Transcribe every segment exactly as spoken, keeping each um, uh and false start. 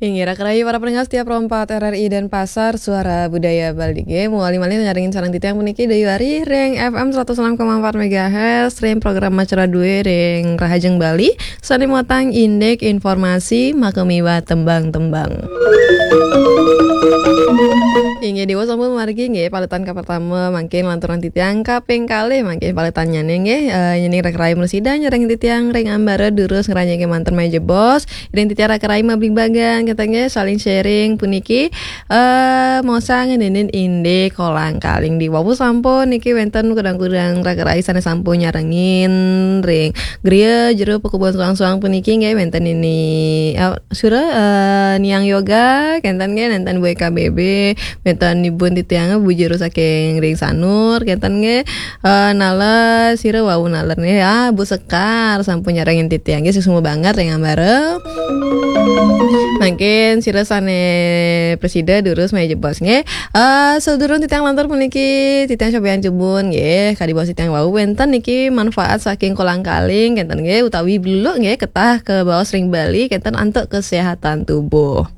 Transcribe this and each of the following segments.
Inggih, raka rahayu para pendengar setia Pro empat R R I Denpasar, Suara Budaya Bali. Nggih, malih-malih nyarengin sareng titiang puniki Dayu Ari ring F M seratus enam koma empat megahertz, ring program Acara Due ring Rahajeng Bali, sane muatang indik informasi makamiwah tembang-tembang. Inggih, Dewa sampun margi nggih, paletan kapertama mangkin lanturang titiang, kaping kalih mangkin paletannyane nggih, eh, yening raka rahayu mresida nyarengin titiang ring ambara durus ngranjing kemanten malih jebos, ring titiang raka rahayu mabligbagan, kenten nggih, saling sharing puniki, eh, maosang ngeninin indik kolang kaling. Di wau sampun niki wenten kudang-kudang raka rahayu sane sampun nyarengin ring griya jero pakubon suang-suang puniki nggih, wenten ini, eh, sira, eh, Niang Yoga, kenten nggih, nenten Bu Eka B B, wenten ibun titiang Bu Jero saking ring Sanur, kenten nggih. Eh, naler, sira wau naler nggih. Ah, Bu Sekar sampun nyarengin titiang nggih, suksma banget ring ambara. Mangkin sira sane prasida durus malih jebos nggih. Eh, sadurung titiang lantur puniki, titiang cobian jebun nggih. Kadi baos titiang wau wenten niki manfaat saking kolang kaling kenten nggih, utawi bluluk nggih, ketah kabaos ring Bali kenten antuk kesehatan tubuh.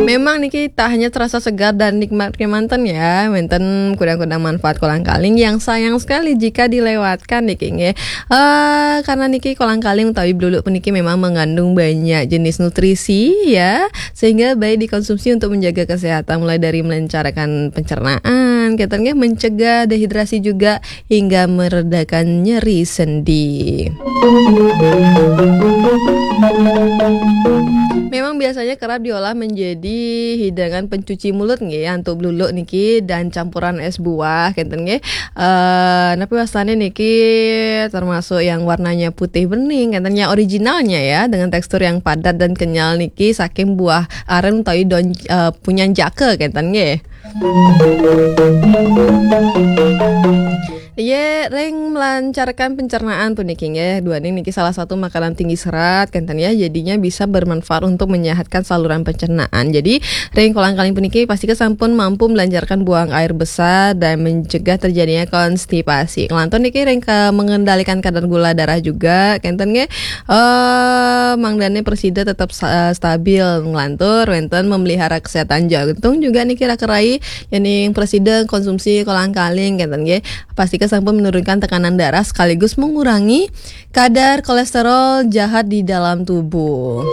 Memang niki tak hanya terasa segar dan nikmat kemanten ya, wenten kudang-kudang manfaat kolang kaling yang sayang sekali jika dilewatkan niki nggih. Eh, karena niki kolang kaling utawi bluluk puniki memang mengandung banyak jenis nutrisi ya, sehingga baik dikonsumsi untuk menjaga kesehatan, mulai dari melancarkan pencernaan, kenten nggih, mencegah dehidrasi juga hingga meredakan nyeri sendi. Memang biasanya kerap diolah menjadi hidangan pencuci mulut nggih, antuk bluluk niki dan campuran es buah kenten nggih. Eh, napi wastane niki termasuk yang warnanya putih bening, kenten, yang originalnya ya, dengan tekstur yang padat dan kenyal niki saking buah aren utawi daun, eh, punyan jaka kenten nggih. Ye, ring melancarkan pencernaan puniki nggih, duaning niki salah satu makanan tinggi serat kenten ya, jadinya bisa bermanfaat untuk menyehatkan saluran pencernaan. Jadi, ring kolang kaling puniki pastika sampun mampu melancarkan buang air besar dan mencegah terjadinya konstipasi. Kelantur niki ring ke mengendalikan kadar gula darah juga kenten nggih. Eh, mangdane prasida tetap sa-, stabil nglantur, wenten memelihara kesehatan jantung juga niki raka rahayu, yening prasida konsumsi kolang kaling kenten nggih. Pastika sampun menurunkan tekanan darah sekaligus mengurangi kadar kolesterol jahat di dalam tubuh.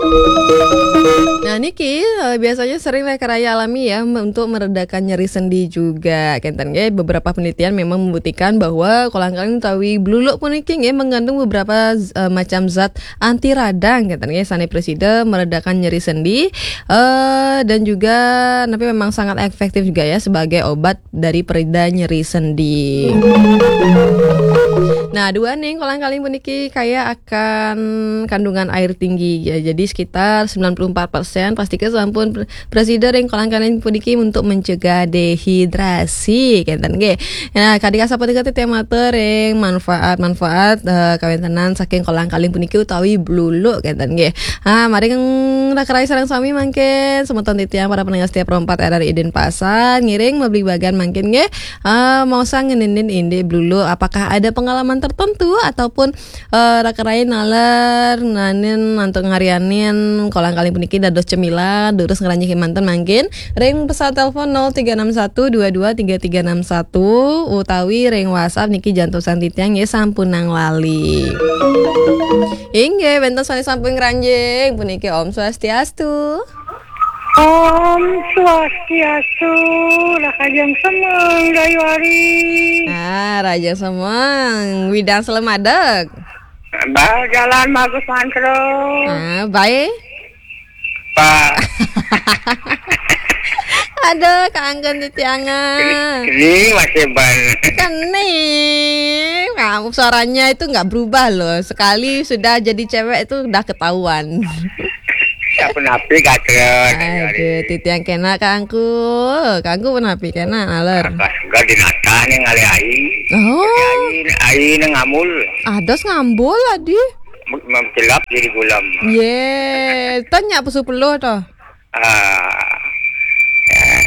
Nah, niki, eh, biasanya sering raka rahayu alami ya, me-, untuk meredakan nyeri sendi juga kenten nggih. Beberapa penelitian memang membuktikan bahwa kolang kaling utawi bluluk puniki nggih mengandung beberapa z-, eh, macam zat anti radang kenten nggih, sane prasida meredakan nyeri sendi, eh, dan juga napi memang sangat efektif juga ya sebagai obat dari perida nyeri sendi. Nah, duaning kolang kaling puniki kaya akan kandungan air tinggi ya. Jadi sekitar sembilan puluh empat persen, pastika sampun pr-, prasida ring kolang kaling puniki untuk mencegah dehidrasi kenten nggih. Nah, kadi kasapunika titiang matur ring manfaat-manfaat, eh, kawentenan saking kolang kaling puniki utawi bluluk kenten nggih. Ah, mari raka rahayu sareng sami mangkin semeton titiang para pendengar setia Pro empat R R I Denpasar, ngiring mabligbagan mangkin nggih. Ah, maosang ngeninin indik bluluk, apakah ada pengalaman tertentu ataupun, eh, raka rahayu naler nanin antuk ngarianin kolang kaling puniki dados cemilan, durus ngranjing kemanten mangkin ring pesawat telepon nol tiga enam satu dua dua tiga tiga enam satu utawi ring WhatsApp niki jantosan titiang nggih, sampunang lali. Inggih, wenten sane sampun ngranjing puniki, Om Swastiastu. Om Swastiastu, rahajeng semeng, Dayu Ari. Ah, rahajeng semeng, widang selamadeg. Bah, jalan bagus mantra. Ah, baik. Pak. Aduh, kangen titiangan. Ini masih ban. Kene. Nah, suaranya itu nggak berubah loh. Sekali sudah jadi cewek itu udah ketahuan. Siapa napi kata? Aduh, titiang kena kangku. Kangku pun napi kena, naler. Enggak dinata nih ngalih ai. Oh. Ai, ai nih ngamul. Ados ngambul adi. Mengkilap jadi gulam. Ye, tanya pesu peluh toh. Ah. Eh,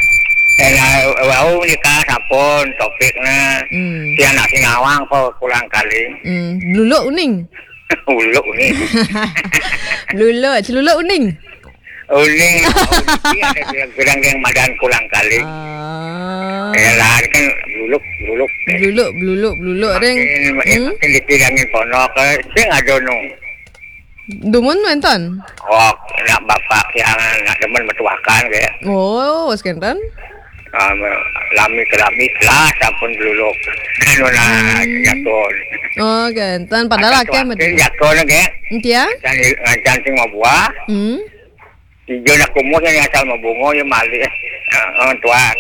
eh, nah, wau nika sampun topiknya. Hmm. Si anak singawang kok kolang kaling. Hmm, bluluk uning. Uluk ni. Bluluk, celuluk uning. Uning, uning ada bilang-bilang yang madan kulang kali. Ah. Ya lah, kan bluluk, bluluk. Bluluk, bluluk, bluluk, Reng. Makin, hmm? Makin dipilangin ponok, eh, sing ada nu. Dumun wénten? Oh, nak bapak yang nak demen metuakan ke. Oh, wes kenten? Ah, lami kelami lah sampun bluluk. Anu nah, hmm. Jatuh. Oh, kenten. Padahal akeh jatuh ke. Entia? Ngancan, ngancan sing mau buah. Hmm. Ijo nak kumuh yang asal mau bungo ya malih. Heeh, tuak.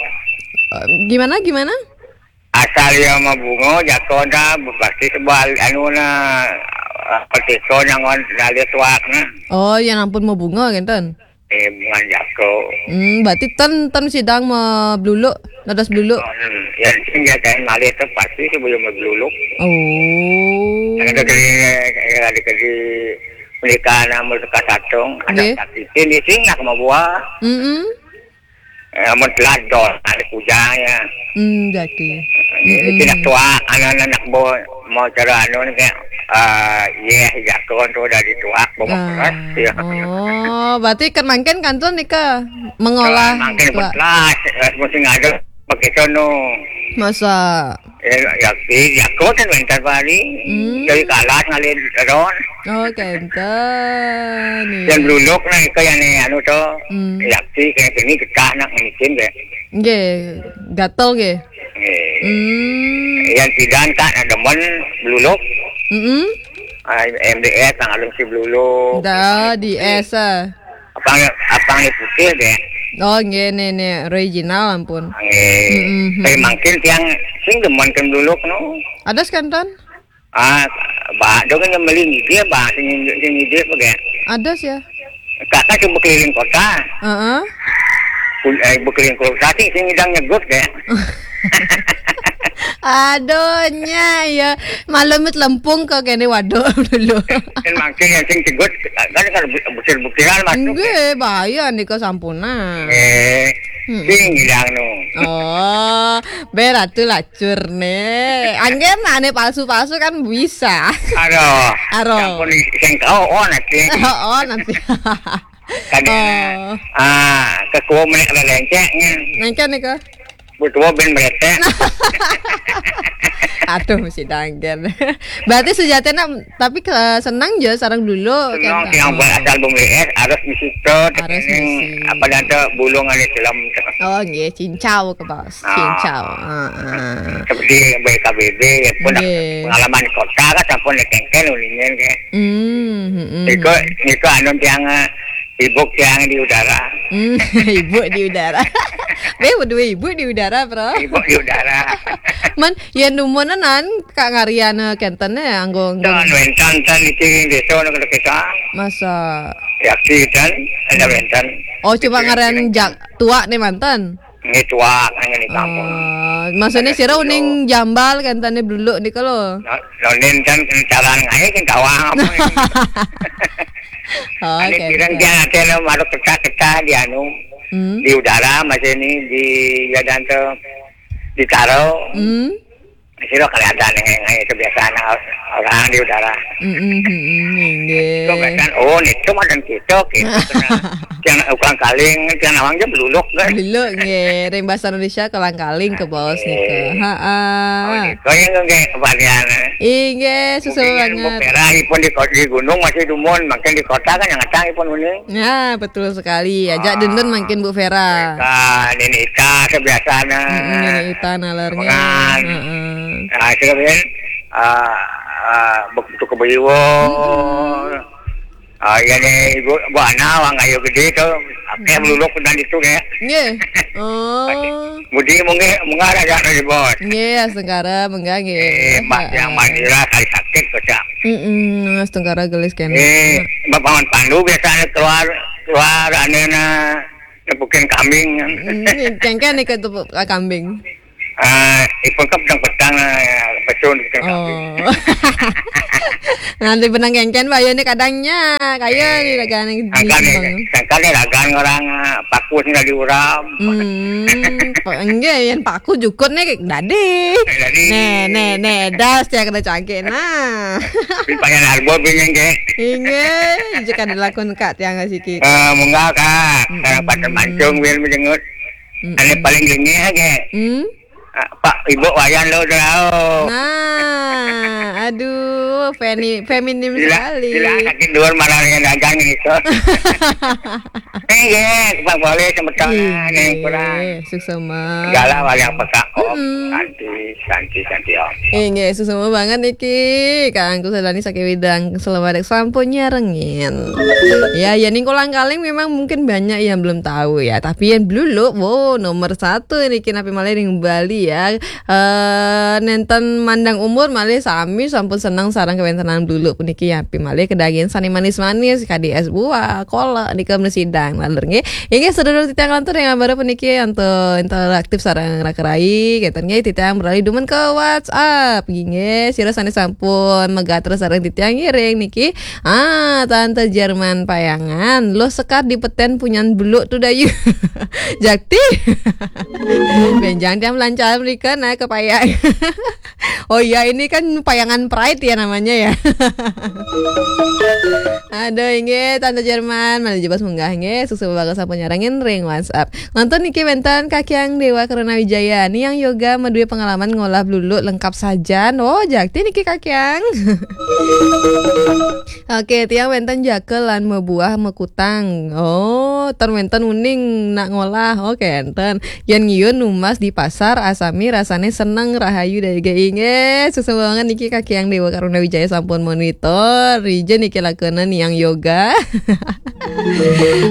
Eh, gimana, gimana? Asal ya mau bungo, jatuh dah, pasti sebal, anu nah, petiko nyangon dari tuak nah. Oh, yang ampun mau bungo kenten? Eh, bungan jako. Hmm, berarti ten, ten sidang mau bluluk, nadas bluluk. Hmm, ya, sing ya kain malih tu pasti sebelum mau bluluk. Oh. Ada kali, ada kali mereka nama suka satung, ada sakit ini sing nak mau buah. Mm-mm. Eh, amun telat dol, ada kujangnya. Hmm, jadi. Ini tidak tuak, anak-anak mau, mau cara anu ni kayak, ah, iya, jako tu dari tuak, bawa keras, ya. Oh, berarti kan mangkin kantun nika mengolah. Mangkin tuak. Belas, eh, mesti ngadu pakai sono. Masa? Eh, ya, ya, jako kan mental bari. Hmm. Dari kalas ngalir ron. Oh, kenten. Iya. Yang bluluk nah, itu yang ni, anu tu. Hmm. Yakti kena kini getah nak mungkin ke. Nggih, gatel nggih. Nggih. Hmm. Yang sidan tak nak demen bluluk. Mm-mm. Ah, M D S nang alun si bluluk. Dah, di S ah. Apang, apang ni putih deh. Oh, nggih, ni, ni original ampun. Nggih. Mm-mm. Tapi mungkin tiang sing demen kan bluluk no. Ada sekantan? Ah, ba, dong kan meli ni dia ba, sing, sing dia apa ke? Ada sih ya. Kakak cuma keliling kota. Heeh. Pun, eh, berkeliling kota sih, sing idang nyegut ke. Aduh, nya ya. Malam itu lempung ke kene waduk dulu. Kan mangkin yang sing cegut, kan, kan butir-butiran masuk. Nggih, bahaya nika sampuna. Eh, hmm. Sing idang nu. Oh, beratu lah. Cur ne. Angger nah, ane palsu-palsu kan bisa. Aduh. Aduh. Sampun sing kau oh nanti. Oh, nanti. Kadang, oh. Ah, kekuo menek ada lenceknya. Nengke nih kok. Betul ben merete. Aduh, mesti dangger. Berarti sejatinya tapi ke, senang je sarang dulu. Senang kan? Yang buat asal bumi es harus misi tot. Harus misi. Apa dah tu bulung ada dalam. Oh, nggih, cincau ke bos. Ah. Cincau. Heeh. Seperti B K B B ya pun pengalaman di kota kan sampun ya kengken uningan ke. Hmm, hmm, hmm. Iko, iko anu tiang, eh, ibu tiang di udara. Hmm, ibu di udara. Be, berdua ibu di udara, bro. Ibu di udara. Man, yang dumunan Kak ngarian, eh, kenten ya, anggo, anggo. Dan wentan tan di sini desa nak kita. Masa? Ya, kita ada wentan. Oh, cuma ngarian jak tuak nih mantan. Ini tuak, ini kampung. Oh, maksudnya sira uning jambal kan tane bluluk nika lho. Lonin kan kencaran ngae kan kawang apa ini. Oh, ane pirang dia ate lo maruk kecah-kecah di anu. Hmm. Di udara masih ini di jalan tu di taro. Hmm. Sira kelihatan ngae kebiasaan orang di udara. Mm-mm, mm-mm, nggih. Kebiasaan, oh, ni cuma dan kita, kita kena yang ukang kaling, yang awang je beluluk kan. Beluluk nggih, ring bahasa Indonesia kolang kaling ke bos nika. Heeh. Oh, nika yang nggih kebahagiaan. Inggih, sesuai banget. Mungkin yang Bu Vera pun di, di gunung masih dumun, makin di kota kan yang ngatang pun uning. Ya, betul sekali. Ajak dendun makin Bu Vera. Ka Nini Ita kebiasaan. Mm-mm, Nini Ita nalarnya. Heeh. Nah, itu kan ah, ah, begitu ke Beriwo. Mm-mm. Ah, ya ni ibu, ibu anak orang kayu gede tu, apa yang meluluk dan itu ke. Nggih. Oh. Budi mungkin mengarah dah dari bos. Nggih, astungkara menggah nggih. Eh, Mbak yang Madura kali sakit kocak. Mm-mm, astungkara gelis kene. Eh, Mbak Paman Pandu biasanya keluar, keluar anena nepukin kambing. Mm, kengken nih ke tepuk kambing. Ah, ipun kan petang-petang, ah, betul gitu kan. Oh. Nanti benang kengken, Pak, ya, ini kadangnya. Kayak ini dagangan yang angkat nih, angkat nih dagang orang, ah, paku tinggal di uram. Hmm, pa-, enggak, yang paku jukut nih, dadi. Dadi. Nih, nih, nih, das ya, kena cangkir, nah. Di Payan Arbo, bini, nggih. Inggih, jika dilakukan Kak, tiang kasih kita. Eh, munggah, Kak. Mm-mm. Sekarang pada mancung, biar menjenguk. Mm-mm. Ane paling gini ya, Kak. Hmm? Ah, Pak, Ibu Wayan lo, tahu. Nah, aduh, femi-, feminim sekali. Sila, sila, kaki dua marah dengan dagang gitu. Inggih, Pak, boleh semeton, inggih, yang kurang. Suksema. Segala wayang peka, Om. Mm-mm. Santi, santi, santi, Om. Inggih, suksema banget niki. Kang Kusandani saking Widang, selamat sampun nyarengin. Ya, ya, ning kolang kaling memang mungkin banyak yang belum tahu ya. Tapi yang dulu, wow, nomor satu niki napi malih ring Bali ya. Eh, nenten mandang umur malih sami sampun seneng sareng kawentenan bluluk puniki, ya, pi malih kedagingan sane manis-manis, kadi es buah, kolak, nika mresidang, lalur nggih. Inggih, sedulur titiang lantur yang baru puniki untuk interaktif sareng raka rai, kenten nggih titiang beralih dumun ke WhatsApp. Inggih, sira sane sampun megatur sareng titiang ngiring niki. Ah, Tante Jerman Payangan, lo sekar di peten punyan bluluk tu dayu. Jakti. Benjang tiang lancar mereka naik ke Payang. Oh iya, ini kan Payangan Pride ya namanya ya. Aduh, inggih, Tante Jerman, malih jebos munggah, inggih, suksema banget sampun nyarengin ring WhatsApp. Nonton niki wenten Kakyang Dewa Karuna Wijaya, niang yoga madue pengalaman ngolah bluluk lengkap sajan. Oh, jakti niki Kakyang. Oke, tiang wenten jakel lan mabuah makutang. Oh, ten wenten uning nak ngolah. Oke, enten. Yen ngiun numbas di pasar, asami rasane seneng, rahayu, daya inggih. Suksema banget niki Kakyang Dewa Karuna Wijaya sampun monitor. Rijen niki lakune niang yoga.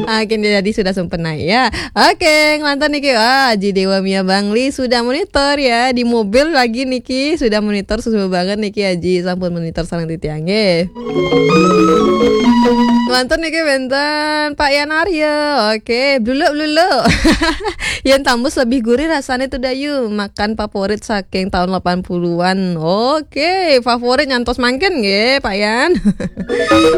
Akhirnya jadi sudah sempena ya. Oke, nglantur niki. Wah, Aji Dewa Mia Bangli sudah monitor ya. Di mobil lagi niki sudah monitor, suksema banget niki Aji sampun monitor sareng titiang nggih. Nglantur niki wenten Pak Yan Arya. Oke, bluluk-bluluk. Yen tambus lebih gurih rasane tu dayu. Makan favorit saking tahun delapan puluhan. Oke, favorit nyantos mangkin nggih, Pak Yan.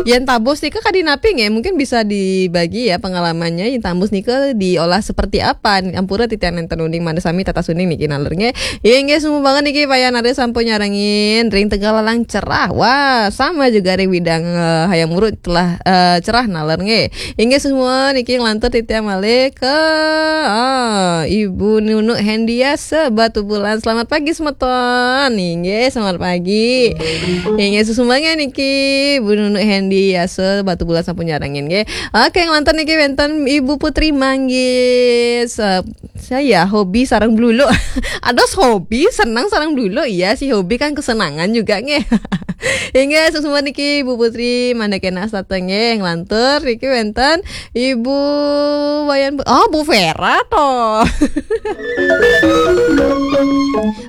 Yen tambus nika kadi napi nggih? Mungkin bisa dibagi ya pengalamannya. Yen tambus nika diolah seperti apa? Ampura titiang nenten uning, mangda sami tatas uning niki nalur nggih. Inggih, suksema banget niki Pak Yan Arya sampun nyarengin ring Tegallalang cerah. Wah, sama juga ring Widang, eh, Hayam Wuruk telah, eh, cerah nalur nggih. Inggih, suksema niki nglantur titiang malih ke, ah, Ibu Nunuk Hendiasa Batubulan. Selamat pagi semeton. Inggih, selamat pagi. Inggih, suksema niki Ibu Nunuk Hendiasa Batubulan sampun nyarengin nggih. Oke, nglantur niki wenten Ibu Putri Manggis. Eh, saya hobi sareng bluluk. Ados hobi, senang sareng bluluk. Iya sih, hobi kan kesenangan juga nggih. Inggih, suksema niki Ibu Putri, mangda kenak setata nggih. Nglantur niki wenten Ibu Wayan Bu-, oh, Bu Vera toh.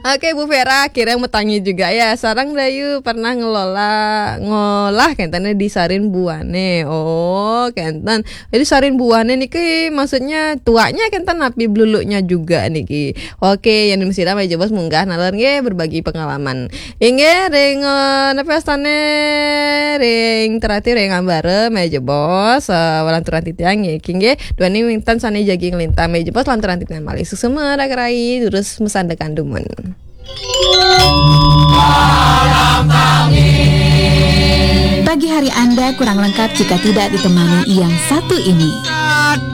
Oke, Bu Vera, akhirnya metangi juga ya. Sareng dayu pernah ngelola, ngolah kenten di Sarin Buane. Oh, kenten. Jadi Sarin Buane niki maksudnya tuaknya kenten napi bluluknya juga niki. Oke, yang di Mesir, malih jebos munggah nalur nggih berbagi pengalaman. Inggih, ring, eh, napi astane ring terati ring ambara, malih jebos, eh, lanturan titiang nggih, nggih. Duaning wenten sane jagi nglintang, malih jebos lanturan titiang malih. Suksema raka rai, durus masandekan dumun. Pagi hari Anda kurang lengkap jika tidak ditemani yang satu ini.